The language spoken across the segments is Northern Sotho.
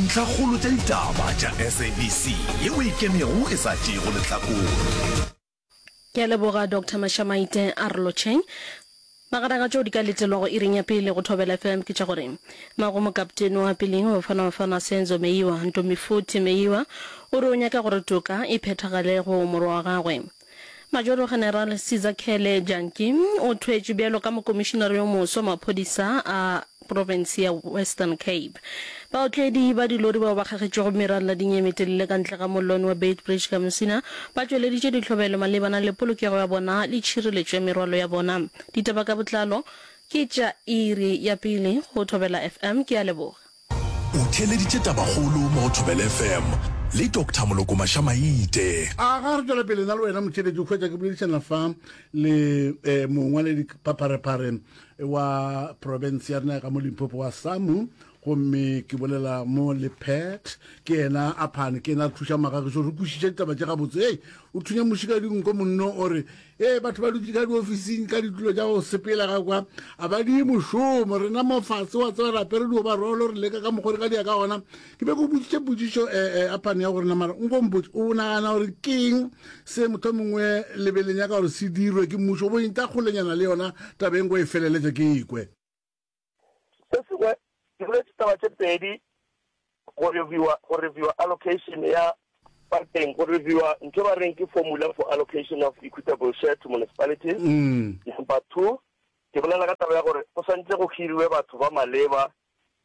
Ntlhakgolo tša ditaba tša SABC yeo e ikemego e sa tšeego lehlakore. Ke a leboga Doctor Mashamaite a re lotšheng. Magareng a tšeo di ka letelwago iring ya pele go Thobela FM ke tša gore Mago mokaptene wa peleng wa Bafana Bafana Senzo Meyiwa, Ntombifuthi Meyiwa, o re o nyaka gore toka e phethagale go morwa wa gagwe. Majoro General Sizakhele Janki o thwetšwe bjalo ka mokomišinare yo moswa maphodisa a profense ya Western Cape. Baotledi ba dilori bao ba kgagetšwego merallading ye metelele ka ntle ga mollwane wa Beitbridge ka Musina ba tšweleditše dihlobelo malebana le polokego ya bona le tšhireletšo ya merwalo ya bona. Ditaba ka botlalo ke tša iri ya pele go Thobela FM. Ke a leboga. O theeleditše Tabakgolo mo go Thobela FM le Doctor Moloko Mashamaite. A ga re tšwela pele nna le wena motheeletši o hwetša ke boledišana fa le eh, mongwaledi phapharephare wa province ya rena ya ka mo Limpopo wa SAMU gomme ke bolela mo le Pat ke yena a phane ke yena a re thuša magagišo re kwešiše ditaba tše gabotse ei o thunya muši ka dinko monno o re Ee, batho ba dutše ka diofising ka ditulo tša go sepela ka kwa, a ba die mošomo. Rena mo fase, wa tseba, re apere diobarolo, re leka ka mokgwa re ka dia ka gona. Ke be ke boditše potšišo eh, eh, aphane ya gore na mara nko mpotše, o nagana gore ke eng se motho mongwe le be le nyaka gore se dirwe ke mmušo, o bo inta kgolenyana le yona taba e nko e feleletše ke ikwe. Se sengwe, ke boletše taba tše pedi, go reviewa, go reviewa allocation ya bakeng, go reviewa ntho e ba reng ke formula for allocation of equitable share to municipalities. Number two, ke bolela ka taba ya gore go swantše go hiriwe batho ba maleba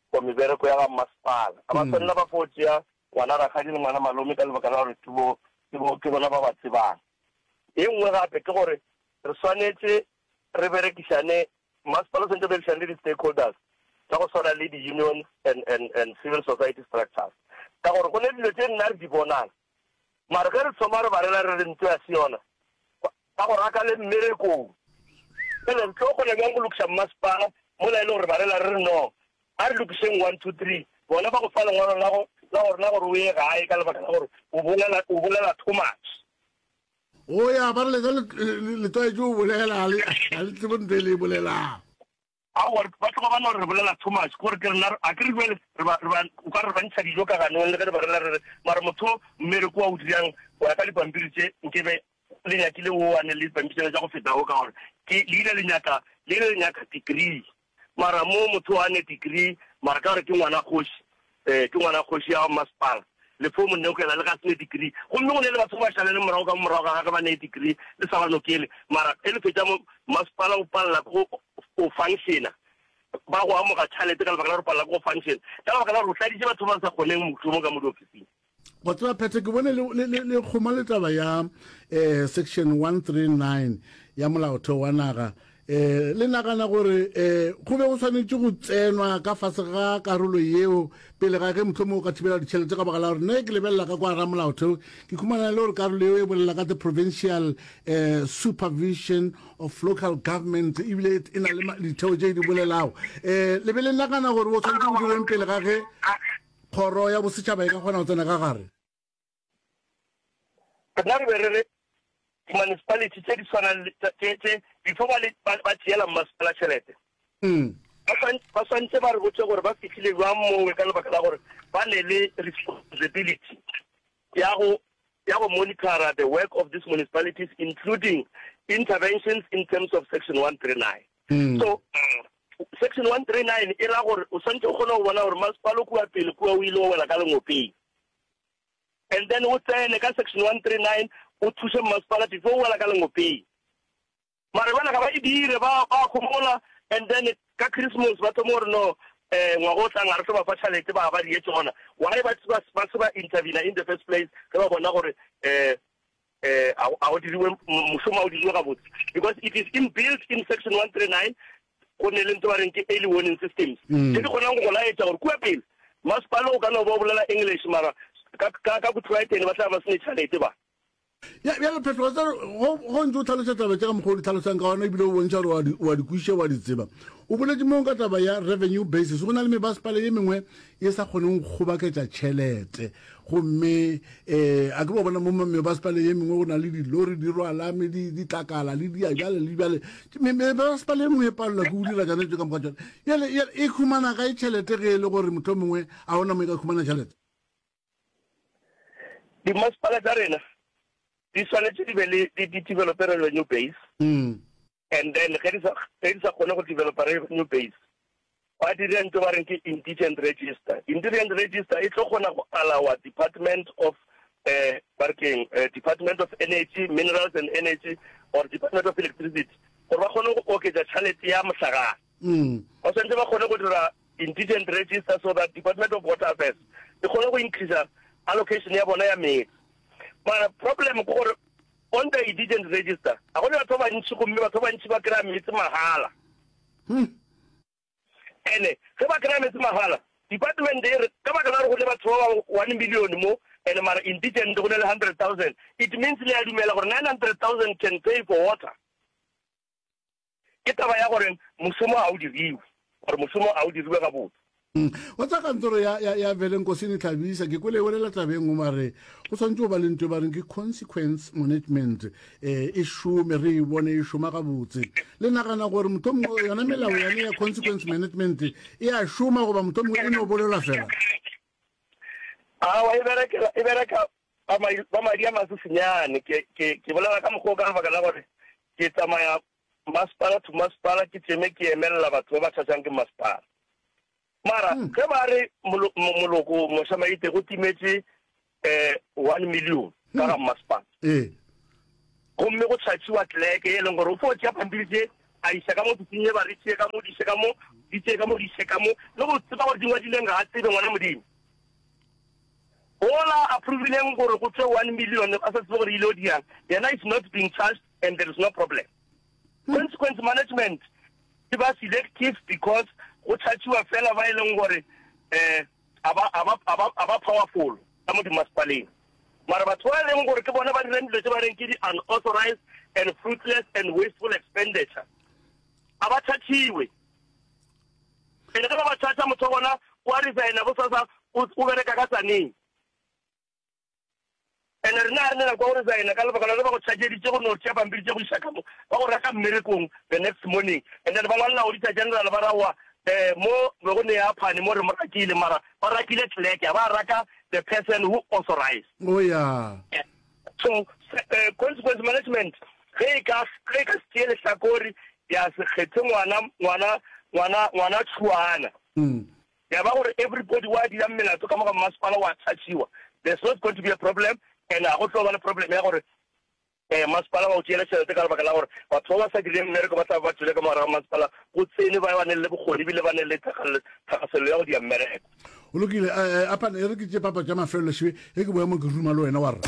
for mebereko ya ga mmasepala. Ga ba swanela ba fo tšea ngwana rakgadi le ngwana malome ka lebaka la gore ke bo, ke bo, ke bona ba ba tsebang. E nngwe gape ke gore re swanetše re berekišane Mmasepala o swanetše go berekišana le di-stakeholders tša go swana le di-unions and, and, and civil society structures ka gore go ne dilo tše nna re di bonang mara ge re thoma re ba rela re re ntlo ya se yona ba go raka le mmerekong. Bjale re tlo kgona bjang go lokiša mmasepala mola e le gore ba rela re re no a re lokišeng one two three bona ba go fa lengwalo la go la gore la gore o ye gae ka lebaka la gore o bolela o bolela too much. O ya ba re lena le tlwaetše go bolela ga le tsebe ntho e le e bolelang. Aowa ba tloga ba no re re bolela too much gore ke rena a ke re bjale re ba re ba o ka re re ba ntšha dijo ka ganong le ge re ba rela re re mara motho mmereko wa o dirang go ya ka dipampiri tše nkebe le nyakile o wane le dipampiri tša go feta o ka gore ke le ile le nyaka le ile le nyaka degree Mara mo motho a ne degree mara ka gore ke ngwana kgoši eh ke ngwana kgoši ya masepala le fo mo nokela le ga se ne degree gomme go ne le batho ba šalele morago ka morago ga gage ba ne degree le sa ba nokele mara e le fetša mo masepala o palela ke go o functiona ba go amoga tšhalete ka lebaka la gore o palela ke go functiona ka lebaka la gore o tladitše batho ba sa kgoneng mošomo ka mo diofising. Wa tseba Phethe, ke bone le, le, le, le kgoma le taba ya eh, section 139 ya molaotheo wa naga. Eh, le nagana gore eh, go be go swanetše go tsenwa ka fase ga karolo yeo pele ga ge mohlomongwe o ka thibela ditšhelete ka baka la gore nna ke lebelela ka kwa ra molaotheo ke khumana le gore karolo yeo e bolela ka the provincial eh, supervision of local government ebile e na le ditheo tše di bolelago. Eh, le be le nagana gore o tshwanetse go dirweng pele ga ge Kgoro ya Bosetšhaba e ka kgona go tsena ka gare. Rena re be re re di-municipality tše di tshwanang le tše tše before ba le ba ba tšeela mmasepala tšhelete ba swan ba swantše ba re botše gore ba fihlile bjang mowe ka lebaka la gore ba ne le responsibility ya go ya go monitora the work of these municipalities including interventions in terms of section 139 so Section 139 e ra gore o swantše o kgone go bona gore masepala o kua pele kua o ile wa wela ka lengopeng. And then o tsene ka section 139 o thuše mmasepala before o wela ka lengopeng. Mara bjale ga ba e dire, ba ba homola and then ka Christmas ba thoma gore no eh ngwaga o tlang ga re tlo ba fa tšhalete ba ba die tšona. Why ba ba ba se ba intervene in the first place ge ba bona gore eh eh a go diriwe mošomo a o diriwe gabotse because it is inbuilt in section 139 go ne le ntho ba reng ke early warning systems mm. tse di kgonang go go laetša gore kua pele masepala o ka no ba o bolela english mara ka ka ka botlwaetene ba tla ba sene tšhalete ba ya bjale phetho wa tseba go ntse o tlhalosa taba tše ka mokgwa o di tlhalosang ka gona ebile o bontšha gore wa di kwešiša wa di tseba. O boletše mo ka taba ya revenue basis, go na le mebasepala ye mengwe ye sa kgoneng go kgobaketša tšhelete. Gomme um a ke ba bona mo mebasepala ye mengwe go na le dilori di rwala ditlakala le dia bjale le bjale. Mebasepala ye mengwe e palelwa ke go dira tšona tše ka moka tšona. Bjale e humana kae tšhelete ge e le gore mohlomongwe a gona mo e ka humana tšhelete? Dimasepala tša rena di swanetše di be le di develope revenue base. Mm. And then ge di sa ge di sa kgone go developa revenue base, ba dire ntho ba reng ke indigent register. Indigent register e tlo kgona go allowa Department of eh ba re keng eh, Department of Energy, Minerals and Energy or Department of Electricity gore ba kgone go oketša tšhalete ya mohlagase. Mm. Ba swanetše ba kgone go dira indigent register so that Department of Water Affairs e kgone go increase allocation ya bona ya meetse. Mara problem ke gore on the indigent register ga go ne batho ba bantši gomme batho ba bantši ba kry-a meetse mahala. Hmm. Ene ge ba kry-a meetse mahala department e re ka baka la gore go ne batho ba ba 1 million mo ene mara indigent go ne le 100,000 it means le a dumela gore 900,000 can pay for water. Ke taba ya gore mošomo ga o diriwe, gore mošomo ga o diriwe gabotse. Wa tseba kantoro ya, ya, ya Velenkosini Hlabisa, ke kwele e bolela taba e nngwe, ba re go swanetše go ba le ntho e ba reng ke consequence management, eh, e šome, re e bone e šoma gabotse. Le nagana gore mohlomongwe yona melao yane ya consequence management e a šoma goba mohlomongwe e no bolelwa fela? Aowa, e berekela, e bereka ba ba madi a masesenyane. Ke, ke, ke bolela ka mokgwa o ka lebaka la gore ke tsamaya masepala to masepala ke tšeme ke emelela batho ba ba chargeang ke masepala. Mara hmm. ge ba re moloko mošamaite go timetše um 1 million ka ga hmm. masepala. Ee. Gomme go chargiwa clerk e leng gore o fo tšea pampiri tše a iša ka mo ofising ye ba re tšee ka mo di iše ka mo di tšee ka mo di iše ka mo le go tseba gore di ngwadileng ga a tsebe ngwana modimo. Ola approvileng gore go tšwe 1 million a sa tsebe gore ile o diang yena is not being charged and there is no problem. Consequence management e ba selective because go chargiwa fela ba e leng gore um a ba a ba a ba a ba powerful ka mo dimasepaleng. Mara batho ba e leng gore ke bona ba dirang dilo tse ba reng ke di unauthorized and fruitless and wasteful expenditure a ba chargiwe. Pele ge ba ba charger motho wa gona o a resigna bosasa o o bereka ka Tzaneen. Ene rena ga re ne nako ya go resigna ka lebaka la ge ba go chargeditše go no tšea pampiri tše go iša ka mo, ba go raka mmerekong the next morning and then ba ngwalela Auditor General ba re aowa um mo be go ne ya phane mo re mo rakile mara ba rakile clerk ga ba raka the person who authorized. Oh yeah. So uh, consequence management ge e ka ge e ka se tšee lehlakore ya se kgethe ngwana ngwana ngwana ngwana tšhuana. Mm. Ya ba gore everybody wa dirang melato ka mo ga mmasepala wa chargiwa. There's not going to be a problem and ga go tlo ba le problem ya gore eh masepala ba o tšeela tšhelete ka lebaka la gore batho ba ba sa direng mmereko ba tla ba tšwele ka mogare ga masepala go tsene ba ba ne le bokgoni ebile ba ne le thakaselelo ya go dia mmereko. Go lokile, eh, eh, apana e re ke tše papa tša mafelelo šibe ge ke boya mo ke ruma le wena wa rra.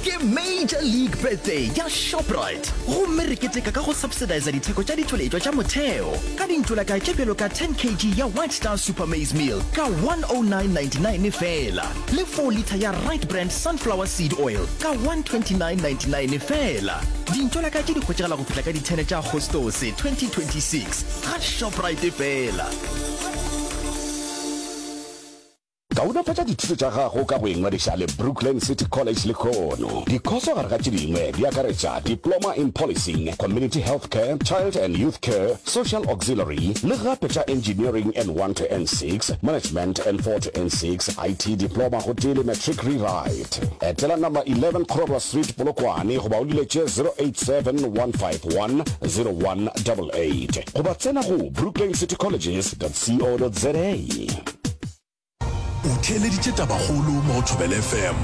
Ke Major League Birthday ya Shoprite gomme re keteka ka go subsidiza ditheko tša ditšweletšwa tša motheo ka dintšolaka tše bjalo ka 10 kg ya White Star Super Maize Meal ka 109.99 feela le 4 litre ya Right Brand Sunflower Seed Oil ka 129.99 feela. Dintšolaka tše di hwetšagala go fihla ka di 10 tša Agostose 2026 ga Shoprite feela. Kaonafatša dithuto tša gago ka go ingwadiša le Brooklyn City College lehono. Dikhoso gare ga tše dingwe di akaretša Diploma in Policing, Community Health Care, Child and Youth Care, Social Auxiliary, le gape tša Engineering N1 to N6, Management N4 to N6, IT Diploma gotee le Matric Rewrite. Etela Number 11 Kgororwa Street, Polokwane goba o leletše 087 151 0188 goba tsena go brooklynecitycolleges.co.za. O theeleditše Tabakgolo mo go Thobela FM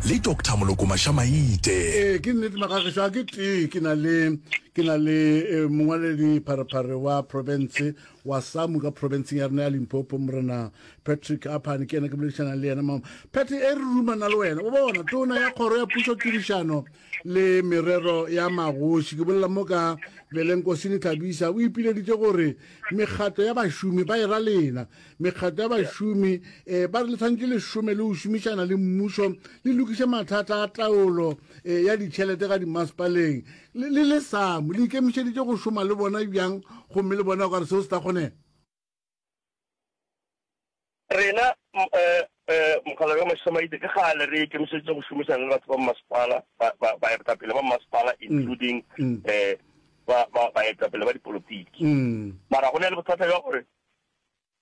le Doctor Moloko Mashamaite. Ee, ke nnete magagešo a ke tee ke na le ke na le eh, mongwaledi pharephare wa province. wa SAMU ka profenseng ya rena ya Limpopo, Morena Patrick Aphane, ke yena ke boledišanang le yena. Mama Patrick, e re rumana le wena, o bona tona ya kgoro ya pušo tirišano le merero ya magoši, ke bolela mo ka Velenkosini Hlabisa, o ipileditše gore mekgatlo ya bašomi ba e ra lena, mekgatlo ya bašomi um ba re le tshwanetse le šome le go šomišana le mmušo le lokiše mathata a taolo um ya ditšhelete ga dimasepaleng le le le SAMU le ikemišeditše go šoma le bona bjang gomme le bona o ka re seo se tla kgonega? Rena um mokgalabje wa Mašamaite ke kgale re ikemišeditše go šomišana le batho ba mmasepala, baetapele ba mmasepala including um baetapele ba dipolotiki. Mara go na le bothata bja gore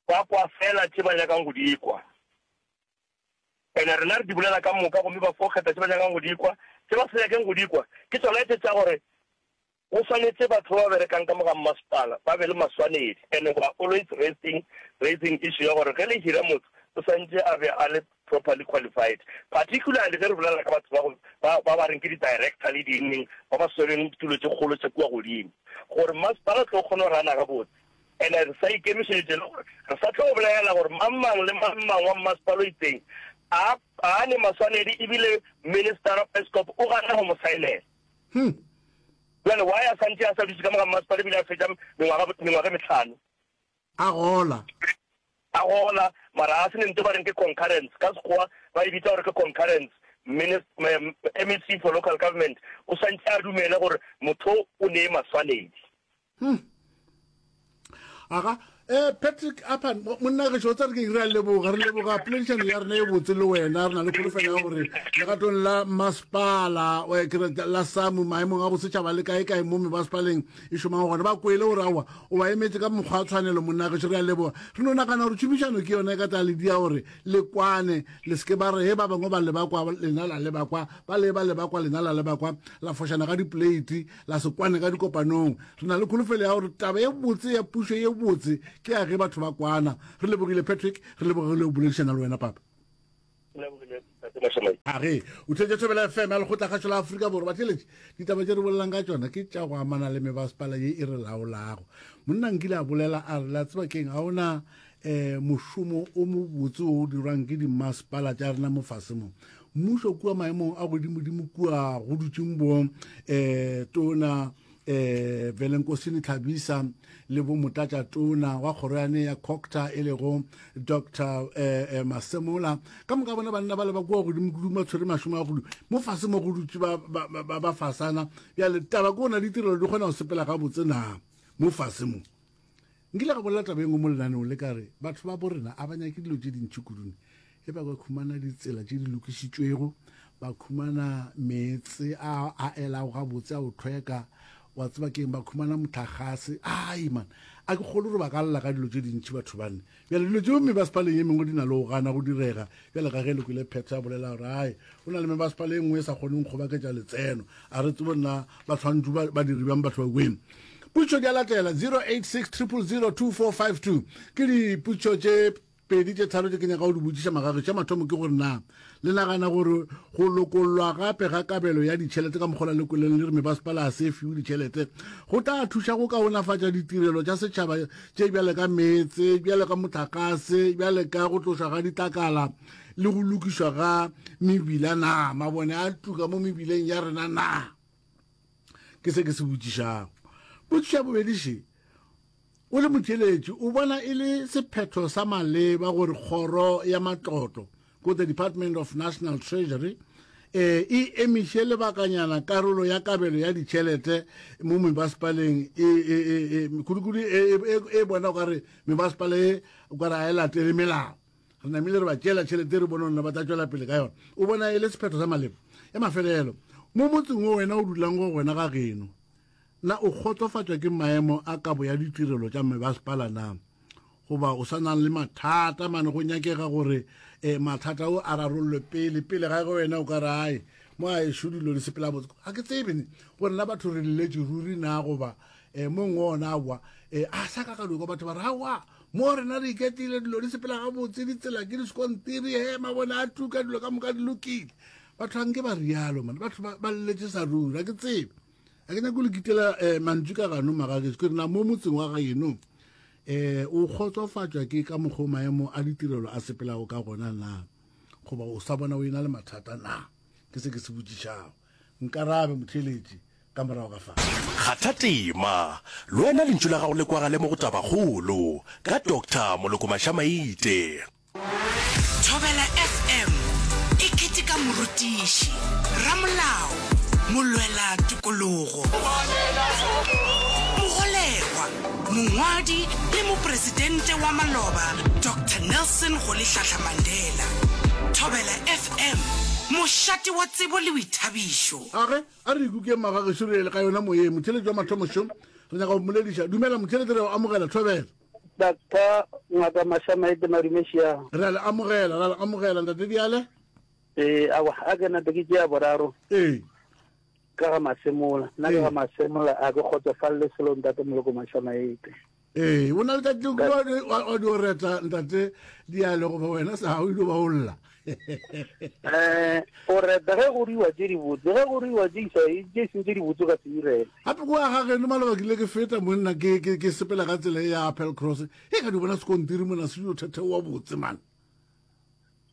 ba kwa fela tše ba nyakang go di kwa. Ene rena re di bolela ka moka gomme ba fo kgetha tše ba nyakang go di kwa. Tše ba sa nyakeng go di kwa ke tšona tše tša gore go swanetše batho ba ba berekang ka mo ga mmasepala ba be le maswanedi. Ene we are always raising, raising issue ya gore ge le hira motho o swantše a be a le properly qualified. Particularly ge re bolela ka batho ba go, ba, ba ba reng ke di-director le di eng, ba ba swereng ditulo tše kgolo tša kua godimo. Gore mmasepala o tlo kgona go rana gabotse. Ene re sa ikemišeditše le gore re sa tlo bolela gore mang mang le mang mang wa mmasepala o itseng a a ne maswanedi ebile Minister of Eskom o gana go mo saenela. Hmm. Bjale why a santše a sa dutše ka mo ga mmasepala ebile a fetša mengwaga mengwaga e mehlano? A gola. A gola, mara a se ne nto ba reng ke concurrence, ka Sekgowa ba e bitsa gore ke concurrence. MEC for local government o swantše a dumele gore motho o ne maswanedi. Hmm. Aga, eh Patrick Apan, monna ge tšo tsare ke re a leboga, re leboga poledišano ya rena e botse le wena, re na le kholofelo ya gore legatong la masepala, eh, ke re la SAMU maemong a bosetšhaba le kae kae mo mebasepaleng e šomang gona, ba kwele gore aowa o ba emetše ka mokgwa wa tshwanelo, monna gešo re a leboga. Re no nagana gore tšhomišano ke yona e ka tla le dia gore le kwane, le se ke ba re he ba bangwe ba leba kwa lena la leba kwa, ba le ba leba kwa lena la leba kwa, la fošana ka dipoleiti la se kwane ka dikopanong. Re na le kholofelo ya gore taba ye botse ya pušo ye botse ke ya ge batho ba kwana. Re lebogile Patrick, re lebogile go boledišana le wena papa. A ge o theetša Thobela FM ya Lekgotlakgašo la Afrika Borwa, batheeletši, ditaba tše re bolelang ka tšona ke tša go amana le mebasepala ye e re laolago. Monna nkile a bolela a re, la tseba keng, ga ona um mošomo o mobotse o o dirwang ke dimasepala tša rena mo fase mo. Mmušo kua maemong a godimodimo kua go dutšeng bo um tona um Velenkosini Tlhabisa le bo motlatša tona wa kgoro yane ya Cocta e lego Doctor eh, eh, Masemola ka moka bona banna ba le ba kua godimo kudu ba tshwere mašomo a kudu mo fase mo go dutše ba, ba, ba, ba fasana bjale taba ke gona ditirelo di kgona go sepela gabotse na mo fase mo Nkile ka bolela taba e nngwe mo lenaneong le ka re batho ba borena a ba nyake dilo tše dintši kudune ge ba ka khumana ditsela tše di lokišitšwego, ba khumana meetse a a elago gabotse a go hlweka, wa tseba keng, ba khumana mohlagase. Ai man, a ke kgolwe gore ba ka lla ka dilo tše dintši batho bane. Bjale dilo tšeo mebasepaleng e mengwe di na le go gana go direga, bjale ka ge le kwele Phetha a bolela gore ai go na le mebasepala e nngwe e sa kgoneng go kgobaketša letseno, a re tsebe nna ba tshwanetše ba, ba dire bjang batho ba kweng. Potšišo di a latela 086 000 2452 ke dipotšišo tše pedi tše tharo tše ke nyaka go di botšiša magagešo. Tša mathomo ke gore na le nagana gore go lokollwa gape ga kabelo ya ditšhelete ka mokgola le kweleng le re mebasepala a se fiwe ditšhelete go tla thuša go kaonafatša ditirelo tša setšhaba tše bjale ka meetse, bjale ka mohlakase, bjale ka go tlošwa ga ditlakala le go lokišwa ga mebila na? Mabone a tuka mo mebileng ya rena na? Ke se ke se botšišago. Potšišo ya bobedi še, O le motheeletši, o bona e le sephetho sa maleba gore Kgoro ya Matlotlo, ko the Department of National Treasury, eh, e emiše lebakanyana karolo ya kabelo ya ditšhelete mo mebasepaleng e, e, e, e, kudu-kudu e, e, e, e bona o ka re mebasepala e o ka re ga e latele melao. Re namile re ba tšeela tšhelete re bone gore ba tla tšwela pele ka yona. O bona e le sephetho sa maleba? Ya mafelelo, mo motseng wo wena o dulang go gona ga geno, Na o kgotsofatšwa ke maemo a kabo ya ditirelo tša mebasepala na? Goba o sa na le mathata mane go nyakega gore eh, mathata ao a rarollwe pele pele ga ge wena o ka re ai mo a ešo dilo di sepela botse ga ke tsebe ne gore na batho re leletše ruri na goba eh, mongwe ona aowa eh, a sa ka ka dilo batho ba re aowa mo rena re iketile dilo di sepela gabotse ditsela ke disekontiri he mabone a tuka dilo ka moka di lokile batho ga nke ba rialo mane batho ba leletše sa ruri ga ke tsebe A ke nyake go le kitela eh, mantšu ka gano magagešo, ke re na mo motseng wa geno. Um o kgotsofatšwa ke ka mokgwa maemo a ditirelo a sepelago ka gona na goba o sa bona o e na le mathata na? Ke se ke se botšišago. Nkarabe motheeletši ka morago ga fa. Kgatha tema, le wena lentšu la gago le kwagale mo go Tabakgolo ka Doctor Moloko Mashamaite. Thobela FM e keteka morutiši, ramolao, molwela tokologo, mogolegwa, mongwadi le mopresidente wa maloba Doctor Nelson Rolihlahla Mandela. Thobela FM, mošate wa tsebo le boithabišo. A ge a re ikukeng magagešo re ele ka yona moyeng. Motheeletši wa mathomo šo, re nyaka go mmolediša. Dumela motheeletši, re a go amogela. Thobela. Doctor Ngaka Mashamaite Madume Šiago. Re a le amogela, re a le amogela Ntate Diale. Ee, awa, a ke nape ke tšea boraro. Ee. Ka ga Masemola. Nna ka ga Masemola a ke kgotsofalele selo Ntate Moloko Mashamaite. Ee, o na le tšatši le wa di o reta Ntate Diale goba wena sa o ile ba o lla. Eh, o reta ge go ruiwa tše dibotse, ge go ruiwa tše isa tše seng tše dibotse o ka se di rete. Gape kwa ga geno maloba ke ile ke feta monna ke ke ke sepela ka tsela e ya Appel Cross, e ka di bona sekontiri mona se dio thetheowa botse man.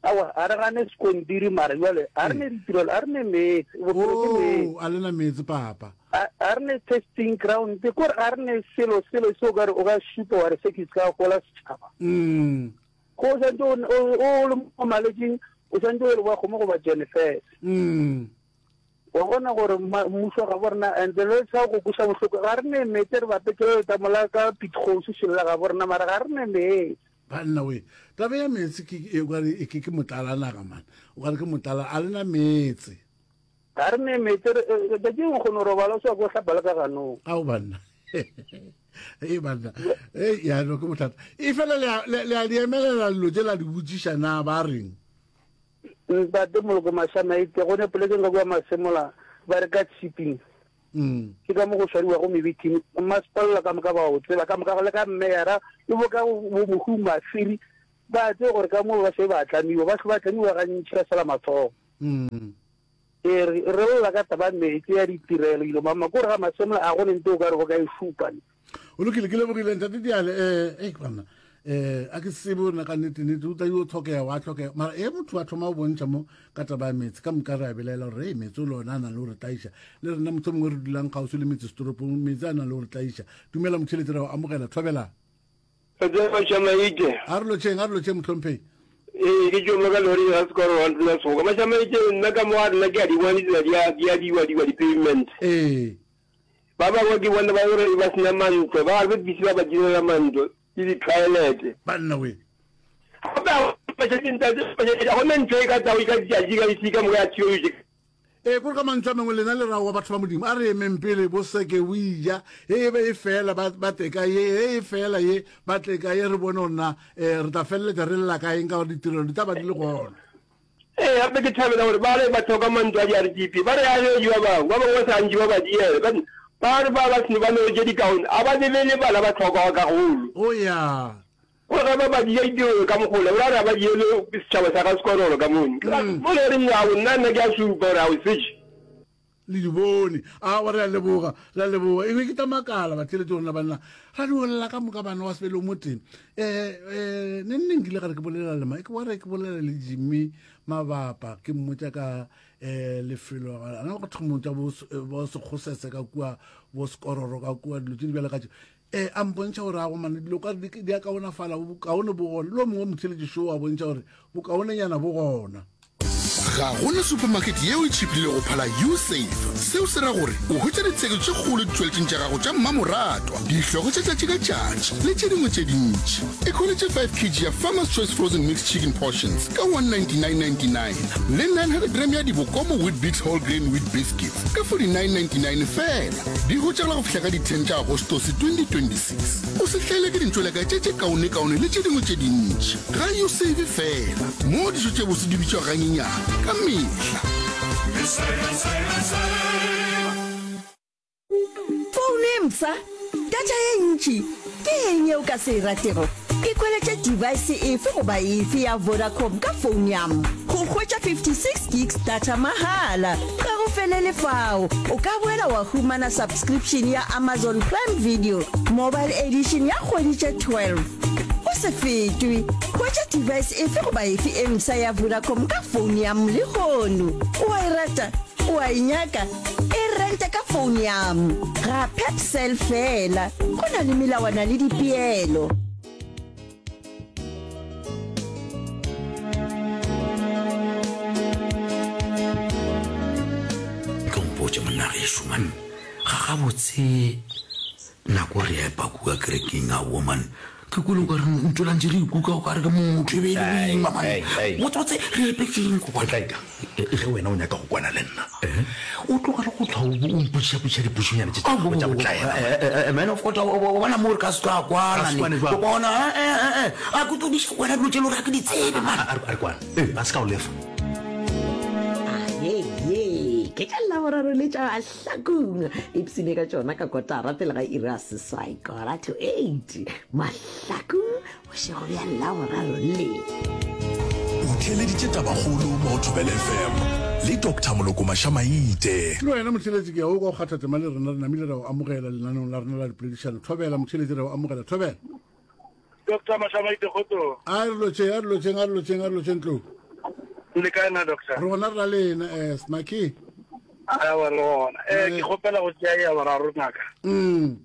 Aowa, a re gane sekontiri mara jwale a re ne ditirelo, a re ne meetse, bophelo ke meetse. Oh, a le na meetse papa. A a re ne testing ground, ke gore a re ne selo selo se o ka re o ka šupa wa re se ke se ka gola setšhaba. Mm. Go o santse o o le mo malwetšing, o santse o le wa kgomo goba Jennifer. Mm. Wa bona gore mmušo ga bo rena and le sa go kuša bohloko ga re ne meetse re bapetše le letamo la ka Pitgosi selo ga bo rena mara ga re ne meetse. Banna we, taba ya meetse ke e ke ke ke motlala naga man. O ka re ke motlala a lena meetse. Ga re ne meetse tšatši o kgone go robala o sa go hlapa le ka ganong. Ao banna. Ee banna. Ee ya no ke bothata. E fela le le a di emelela dilo tše la di botšiša na ba reng? Ntate Moloko Mashamaite go ne polekeng ka kua Masemola ba re ka tshiping. Mm. Ke ka mo go swariwago mebithini. Mmasepala ka moka ba o tseba ka moka le ka mmeyara le bo ka bo mohu mafiri ba tseba gore ka mo ba se ba tlamiwa ba ba tlamiwa gantši ka sela matsogo. Mm. E re re lla ka taba meetse ya ditirelo ilo mama ko re ga masemola a go ne nte o ka re go ka e šupa ne. O lokile ke lebogile ntate Diale eh eh banna eh a ke tsebe o nna ka nnete nnete o tla yo tlhokega wa tlhokega mara e motho a thoma o bontšha mo ka taba ya meetse ka moka re a belaela gore e meetse o le ona a nang le go re tlaiša le rena motho mongwe re dulang kgauswi le metse setoropong meetse a nang le go re tlaiša dumela motheletsi ra go amogela thobela Mashamaite. A re lotšheng, a re lotšheng mohlomphegi. Ee, ke tšoma ka lori ga sekoro wa ntlo ya segoka. Mashamaite, nna ka mo ga rena ke a di bona ditsela di a di a diwa diwa di-pavement. Ee. Ba bangwe ke bona ba gore ba sena mantlo, ba re bisi ba ba direla mantlo le di-toilet. Banna we. Gape a go ntate, ga gona ntho e ka tlago ka tšatši ka isi ka moka ya theology. Ee, kore ka mantšu a mangwe lena le ra wa batho ba Modimo, a re emeng pele bo seke bo ija, he e be e fela ba, ba tle ka ye, he e fela ye, ba tle ka ye, re bone gore na um re tla feleletša re lla ka eng ka gore ditirelo di tla ba di le gona. Ee, gape ke thabela gore ba re ba hloka mantlo a di-RDP, ba re a yo ba bangwe, ba bangwe ba sa ntše ba ba diela, ba ba re ba ba seno ba no tše dikaone, a ba lebele bana ba tlhokago kagolo. O ya. Gore ge ba ba dia ditirelo ka mogola, o ra re a ba diele setšhaba sa ga Sekororo ka mone. Mo le reng ao, nna nna ke a supa gore ao setše. Le di bone. Aowa, re a leboga, re a leboga. E be ke tla makala batheeletši gore na banna ra di olela ka moka bana wa sebele o mo teng. Um um ne nne nkile ga re ke bolela le ma, ke wa re ke bolela le Jimmy Mabapa, ke mmotša ka um lefelo a na go thomong tša bo Sekgosese ka kua, bo Sekororo ka kua, dilo tše di bjalo ka tše. Ee, a mpontšha gore a go mane dilo ka di di a kaonafala, bokaone bo gona. Le o mongwe motheeletši šo a bontšha gore bokaonenyana bo gona. Ga go na supermarket yeo e tšhipilego go phala Usave. Seo se ra gore o hwetša ditheko tše kgolo ditšweletšing tša gago tša mmamoratwa, dihlogo tša tšatši ka tšatši le tše dingwe tše dintši. Ikhweletše 5 kg ya Farmer's Choice Frozen Mixed Chicken Portions ka 199.99 le 900 gram ya Dibokomo Weet-Bix Whole Grain Wheat Biscuits ka 49.99 feela. Di hwetšagala go fihla ka di 10 tša Agostose 2026. O se hlaelwe ke dintšweleka tše tše kaonekaone le tše dingwe tše dintši. Ga Usave feela, moo dijo tše bose di bitšwago ganyenyane ka mehla. Founo e mpsha? Data ye ntši? Ke eng ye o ka se e ratego? Ikhweletše device efe goba efe ya Vodacom ka phone ya go hwetša 56 gigs data mahala. Ga go. felele fao, o ka boela wa humana subscription ya Amazon Prime Video Mobile Edition ya kgwedi tše 12. O se fetwe! Hwetša device efe goba efe e mpsha ya Vodacom ka founu ya m lehono. O a e rata? O a e nyaka? E rente ka founu ya m ga Pepcell feela. Go na le melawana le dipeelo. Tlo mpotše monna gešo man, ga gabotse nako re epa kua kerekeng aowa man, ke kwele o ka re ntšwela ntše re ikuka o ka re ke motho e be e le boima man, botsebotse re epetšeng go bona. Ge wena o nyaka go kwana le nna, o tlogele go hlwa o mpotšišapotšiša dipotšišonyana tše tša gago tša botlaela. Man of God, wa bona mo re ka se tlo a kwana ne. Bona, a ke tlo diša wena dilo tše le gore ga ke di tsebe man. A re kwane, ba se ka o lefa. Aheye, ke tša Laboraro le tša Mahlakong. Ipsine ka tšona ka kotara pele ga iri ya seswai, kora to eight. Mahlakong Bošego bja Laboraro le. O theeleditše Tabakgolo mo go Thobela FM le Doctor Moloko Mašamaite. Le wena motheeletši ke ya o kwa o kgatha tema le rena, re namile ra o amogela lenaneong la rena la dipoledišano. Thobela motheeletši, re o amogela. Thobela. Doctor Mašamaite kgotsong. A re lotšheng, a re lotšheng, a re lotšheng, a re lotšheng tlou. Le kae na doctor? Re gona re na lena, eh, Smaki. Aowa re gona. Eh, ke kgopela go tšea ya boraro ngaka. Mm.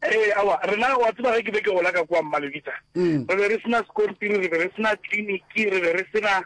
Ee, aowa, rena, wa tseba ge ke be ke gola ka kua Mmalebitsa, Mm. re be re se na sekontiri, re be re se na tleliniki, re be re se na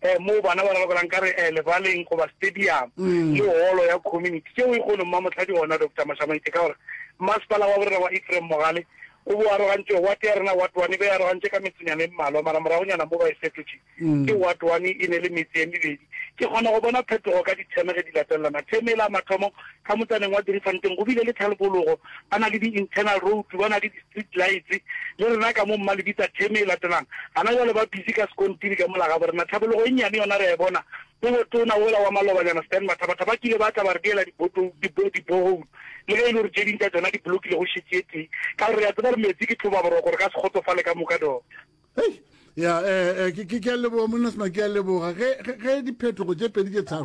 um moo bana ba ralokelang ka re um lebaleng goba stadium Mm. le holo ya community. Tšeo e kgono Mmamotlha di gona, Doctor Mashamaite, ka gore masepala wa borena wa Ephraim Mogale o bo arogantše ward ya rena, ward one e be e arogantše ka metsenyana e mmalwa, mara moragonyana mo ba e fetotše. Ke Ward One e ne le metse e mebedi. Ke kgona go bona phetogo ka ditheme ge di latelelana. Theme e la mathomo, ka motsaneng wa Driefontein go bile le tlhalbologo, ba na le di-internal road, ba na le di-street lights. Le rena ka mo Mmalebitsa theme e latelang. Gana jwale ba busy ka sekontiri ka mola gabo rena. Tlhabologo e nnyane yona re a e bona. Bo botona wola wa malobanyana Stan Mathabatha ba kile ba tla ba re diela di-borehole le ge e le gore tše ding tša tšona di blokile go šetše e tee. Ka gore re a tseba gore metsi ke tlhobaboroko re ka se kgotsofale ka moka Doctor. Hei, ya eh, eh, ke ke a leboga monna sema ke a leboga ge ge diphetogo tše pedi tše tharo.